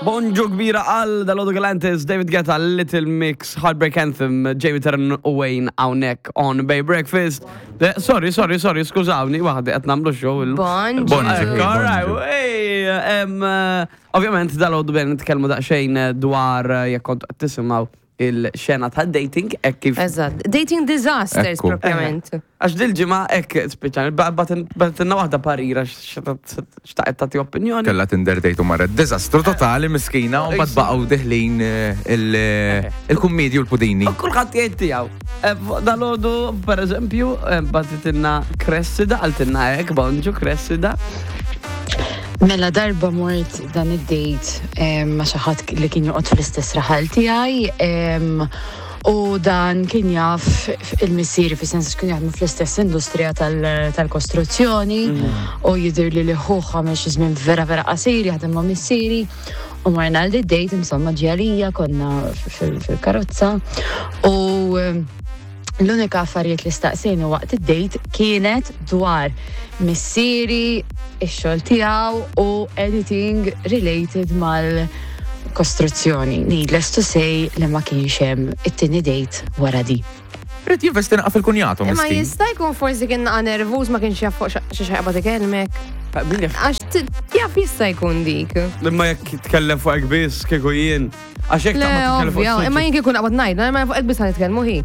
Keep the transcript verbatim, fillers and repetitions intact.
Bonġu kbira għal dalgħodu Galantis, David Guetta, Little Mix, Heartbreak Anthem, Jamie Terran u Wayne hawnhekk on Bay Breakfast. Eh, Sorry, sorry, sorry, skużawni, waħdi qed nagħmlu show. il- Bonġu. Bonġu. All right, hey, em, eh, ovvjament dalgħodu bejn nitkellmu daqsxejn eh, dwar eh, jekk kontu qed tisimgħu il-xena ta' dating, hekk kif Eżatt. Dating disasters Ekku. propjament. Għax dil-ġimgħa hekk speċjali, bagħtilna waħda parira xtaqet tagħti opinjoni. Kella Tinder date u marret dizastru totali miskina u mbagħad baqgħu deħlin eh, il- eh, il-kummedji u l-pudini. U kulħadd jgħid tiegħu. Eh, Dalgħodu, per eżempju, eh, bagħtitilna Cressida, qaltilna hekk, bonġu Cressida. Mela darba mort dan id-date em, ma' xi ħadd li kien joqgħod fl-istess raħal tiegħi em, u dan kien jaf il-missieri fi sens kien jaħdmu fl-istess industrija tal- tal-kostruzzjoni u jidher li li ħuh għamel xi żmien vera vera qasir jaħdem ma' missieri u marna għal date insomma ġialija konna fil- fil-karozza u em, l-unika affarijiet li staqsejni waqt id-date kienet dwar missieri, ix-xogħol tiegħu u anything related mal-kostruzzjoni. Needless to say li ma kienx hemm it-tieni date wara di. Ried jinvesti naqa fil-kunjatu Imma miskin. jista' jkun forsi kien naqa nervuż ma kienx jaf fuq xi xi qabad ikellmek. Min jaf? Għax t- jaf jista' jkun dik. Imma jekk jitkellem fuq hekk biss kieku jien. Għax jekk Le, taqbad titkellem fuq ovvja, imma jien kieku naqbad ngħid, ma fuq hekk biss nitkellmu hi.